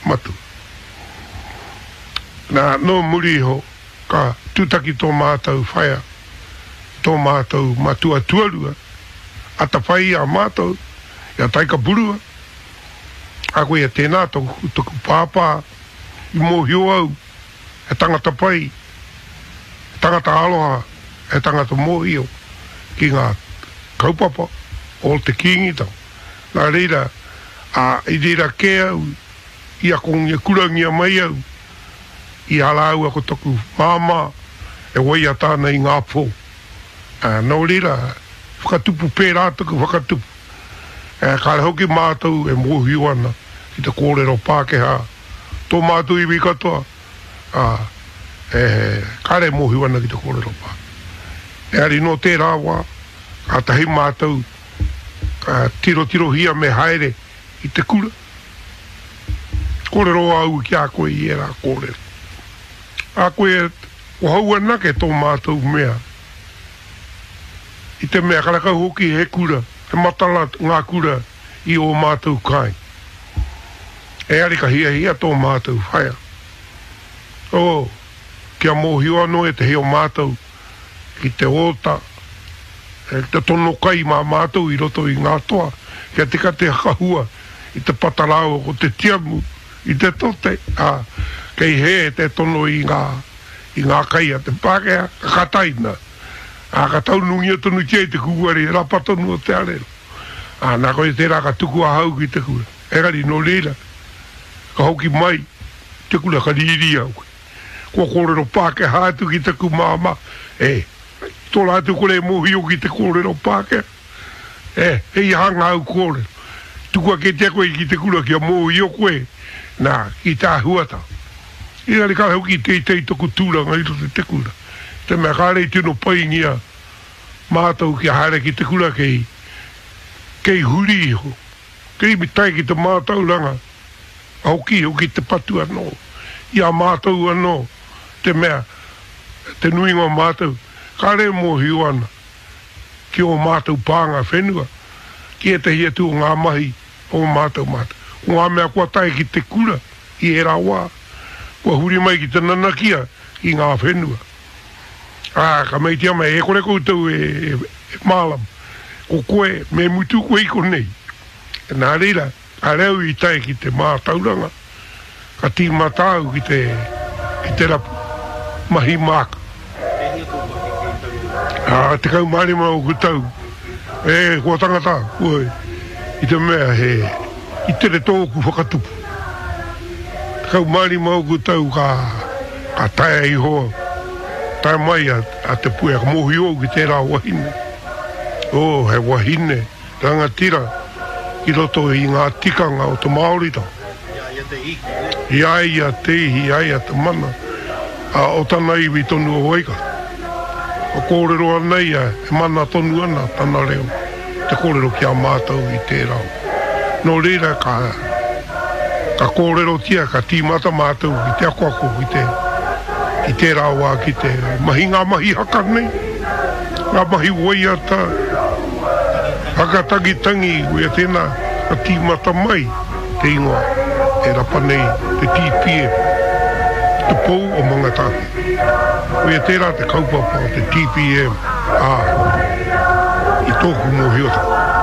matua. Nā, nō muri iho ka tūtaki tō mātou whaea i tō mātou matua tuarua, atawhai i a mātou, i a Taikapurua, ā, koia tēnā tōku, toku pāpā i mōhio au he tangata pai, he tangata aroha, he tangata mōhio ki ngā kaupapa o te Kīngitanga. Nā reira, ā, i reira kē au i akongia kurangia mai au i a rāua ko taku māmā e waiata ana i ngā pō. Ā, nō reira, whakatupu pērā taku whakatupu. Ā, kāre hoki mātou e mōhio ana ki te kōrero Pākehā, tō mātou iwi katoa, ā, e, kāre e mōhio ana ki te kōrero Pākehā. Engari nō tērā wā, kātahi mātou ka tirotirohia me haere i te kura. Kōrero au ki a koe i ērā kōrero. A koe, ko hau anake tō mātou mea. I te mea karakau hoki he kura, he matara ngā kura i ō mātou kāinga. Engari ka hiahia tō mātou whaea. Oh, kia mōhio anō ētehi o mātou ki te ōta, ki te tono kai mā mātou i roto i ngā toa, kia tika te hakahua i te pata rāua ko te tiamu i te tote, ā, kei hē te tono i ngā, i ngā kai a te Pākehā, ka kataina, ā, ka taunungia tonutia i te kūare rapa tonu o te arero. Ā, nā koia tērā ka tuku ahau ki te kura. Engari nō reira, ka hoki mai te kura ka rīrī au. Kua kōrero Pākehā atu ki taku māmā, e, tō rātou kore e mōhio ki te kōrero Pākehā. E, hei aha ngāu kōrero? Tukua kētia koe ki te kura kia mōhio koe, nā, ki te āhuatanga. Engari kāre hoki i teitei taku tūranga i roto i te kura, i te mea kāre i tino paingia mātou kia haere ki te kura kei, kei huri iho, kei tae ki te mātauranga. Hoki hoki te patu anō i a mātou anō, te mea, te nuinga o mātou, kāre e mōhio ana ki ō mātou pānga whenua, ki ētahi atu o ngā mahi o ō mātou mātou. Ko ngā mea kua tae ki te kura i ērā wā, kua huri mai ki te nanakia ki ngā whenua. Ā, ka meitia mai, e kore koutou e mārama, ko koe, me mutu koe i konei. Nā reira, Kāre au i tae ki te mātauranga, ka tīmata au ki te, ki te rapu mahi māku. E hia tō pakeke i taua wā? Ā, 15 ōku tau. E, kua tangata, kua, i te mea he, i tere tōku whakatupu. 15 ōku tau ka, ka taea iho, tae mai a, a Te Puea, ka mōhio au ki tērā wahine. Oh, he wahine. Rangatira i roto i ngā tikanga o te Māoritanga. I a ia te ihi, nē? I a ia te ihi, i a ia te mana, ā, o tana iwi tonu o Waikato. Ka kōrero ana ia, e mana tonu ana tana reo te kōrero ki a mātou i tērā wā. Nō reira ka, ka kōrerotia, ka tīmata mātou ki te akoako ki te, i tērā wā ki te mahi ngā mahi haka nei, ngā mahi waiata, Whakatangitangi koia tēnā ka tīmata mai te ingoa e rapa nei te TPM, Te Pou o Mangatāwhiri. Koia tērā te kaupapa o te TPM, ā, i tōku mōhiotanga.